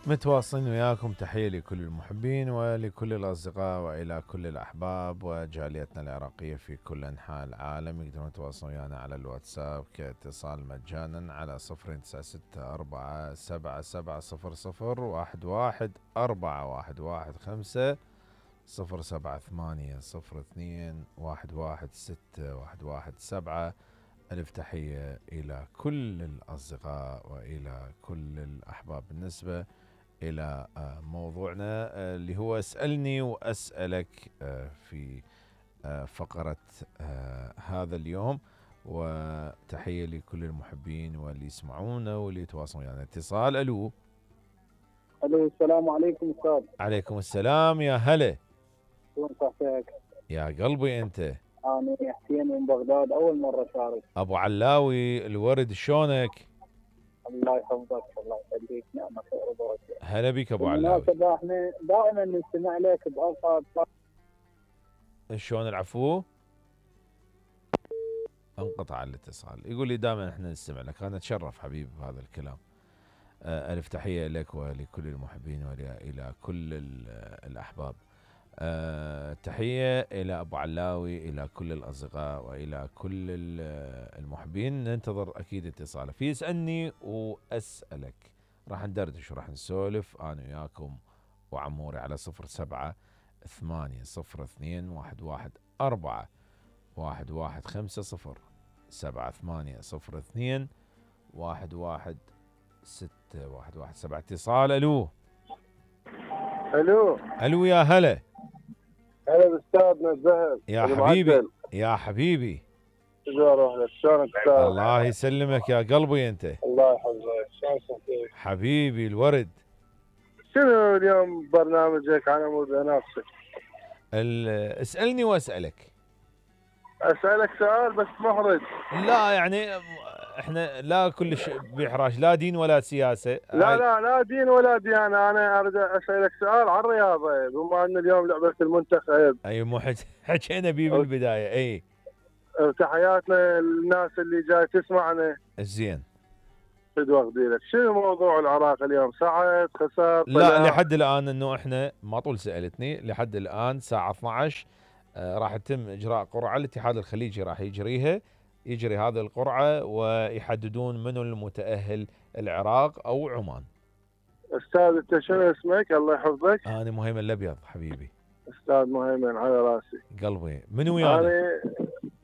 متواصلين وياكم. تحية لكل المحبين ولكل الأصدقاء وإلى كل الأحباب وجاليتنا العراقية في كل أنحاء العالم. يقدرون يتواصلون ويانا على الواتساب كاتصال مجانا على 0964770011 078 02 117. ألف تحية إلى كل الأصدقاء وإلى كل الأحباب. بالنسبة إلى موضوعنا اللي هو اسألني وأسألك في فقرة هذا اليوم، وتحية لكل المحبين واللي يسمعونا واللي يتواصلون يعني. اتصال. ألو السلام عليكم أستاذ. عليكم السلام. يا هلا. شلون صحتك؟ يا قلبي أنت. أنا حسين من بغداد، أول مرة شارك. أبو علاوي الورد، شلونك؟ الله يحفظك، الله يخليك، نعمة خير وبركة. هلا بك أبو علاوي. بالمناسبة احنا دائما نستمع لك بأوقات. شلون العفو؟ انقطع الاتصال. يقول لي دائما احنا نستمع لك. انا اتشرف حبيبي بهذا الكلام. الف تحيه لك ولكل المحبين والى كل الاحباب. تحيه الى ابو علاوي، الى كل الاصدقاء والى كل المحبين. ننتظر اكيد اتصاله. في اسالني واسالك، راح ندردش وراح نسولف انا وياكم وعموري على 07802114 11802116117. اتصال. الو الو. يا هلا. هلا باستاذنا الزهر يا حبيبي. يا حبيبي شلونك استاذ؟ الله يسلمك يا قلبي انت. الله يحفظك. شلون صحتك حبيبي الورد؟ شنو اليوم برنامجك على مود نفسك؟ اسالني واسالك. اسالك سؤال بس محرج. لا يعني احنا لا كلش بإحراج، لا دين ولا سياسه. لا دين ولا ديانه. انا اريد اسالك سؤال عن الرياضه، بما ان اليوم لعبه المنتخب. اي مو حكينا بيه بالبدايه. اي وتحياتنا للناس اللي جاي تسمعنا. زين. لك شنو موضوع العراق اليوم؟ صعد خسر؟ لا لحد الان انه احنا ما طول سالتني لحد الان الساعه 12 راح يتم اجراء قرعه. الاتحاد الخليجي راح يجري هذه القرعه ويحددون منو المتاهل، العراق او عمان. استاذ انت شنو اسمك؟ الله يحفظك. انا مهيمن الابيض حبيبي. استاذ مهيمن على راسي. قلبي. من ويانا؟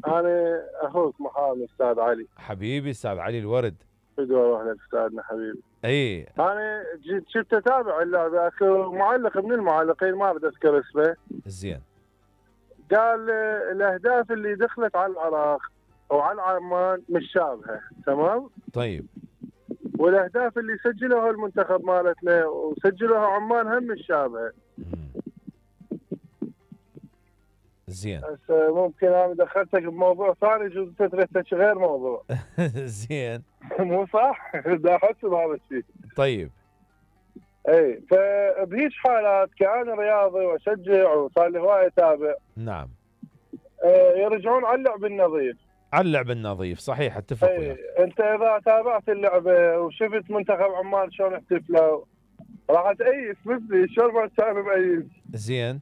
انا اخوك محامي استاذ علي. حبيبي استاذ علي الورد. بدور اروح لك استاذنا حبيبي. اي انا شفت اتابع اللعبه. اكو معلق من المعلقين ما بدي اذكر اسمه. زين. قال الاهداف اللي دخلت على العراق وعلى عمان مش شابهه، تمام؟ طيب. والاهداف اللي سجلوها المنتخب مالتنا وسجلوها عمان هم مش شابهه. زين. هسه ممكن انا دخلتك بموضوع ثاني، جوز تريد غير موضوع. زين. مو صح؟ دا احس بهذا الشيء. طيب. اي فبهيج حالات كأنا رياضي واشجع وصار لي هوايه اتابع. نعم. يرجعون على اللعب النظيف. على اللعب النظيف صحيح، اتفق وياك. انت اذا تابعت اللعبه وشفت منتخب عمان شلون احتفلوا راح تأيس مثلي. شلون ما كان مأيس. زين.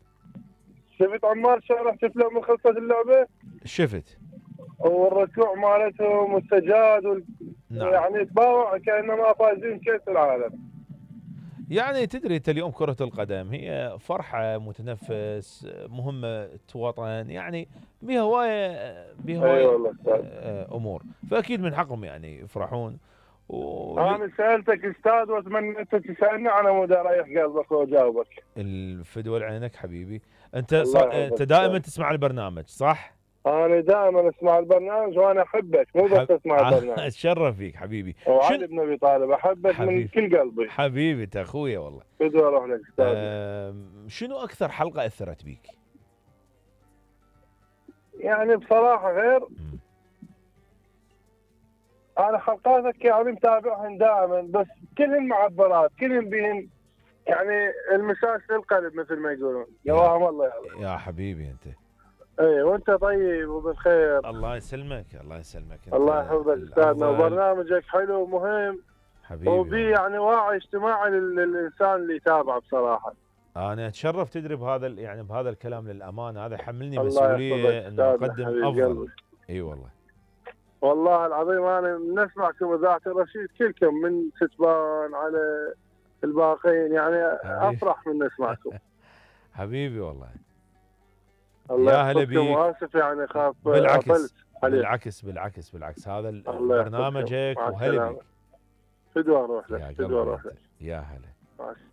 شفت عمان شلون احتفلوا من خلصت اللعبه؟ شفت. والركوع مالتهم والسجاد نعم. يعني تباوع كانما فايزين كاس العالم. يعني تدري انت اليوم كرة القدم هي فرحة، متنفس، مهمة وطن، يعني بها هواية والله امور، فاكيد من حقهم يعني يفرحون. انا سالتك استاذ واتمنى انت تسالني على مود اريح قلبك واجاوبك. الفدوى لعينك حبيبي. انت دائما تسمع البرنامج صح؟ انا دائما اسمع البرنامج وانا احبك، مو بس اسمع البرنامج. اتشرف فيك حبيبي. وعلي بن ابي طالب احبك من كل قلبي. حبيبي انت اخويا والله. بدي اروح لك استاذ. شنو اكثر حلقه اثرت بيك؟ يعني بصراحه غير انا حلقاتك يعني متابعهن دائما، بس كلهن معبرات، كلهن بهن يعني المساس للقلب مثل ما يقولون. جواهم الله يا حبيبي انت. اي وانت طيب وبالخير. الله يسلمك. الله يسلمك. الله يحفظك استاذنا، وبرنامجك حلو ومهم حبيبي وبي والله. يعني وعي اجتماعي للانسان اللي يتابعه بصراحه. انا اتشرف تدري بهذا يعني بهذا الكلام للامانه، هذا يحملني الله مسؤوليه يحفظك انه أستاذنا اقدم حبيب افضل. قلبي. اي والله. والله العظيم انا من اسمعكم اذاعه الرشيد كلكم من ستبان على الباقين يعني حبيبي. افرح من اسمعكم. حبيبي والله. الله يا هلا يحفظكم بيك. واسف يعني خاف بالعكس قفلت عليك. بالعكس هذا الله يحفظكم. برنامجك مع وهلا السلامة. بيك. فدوى روح لك يا فدوى قلبي روح لك. يا هلا. مع السلامة.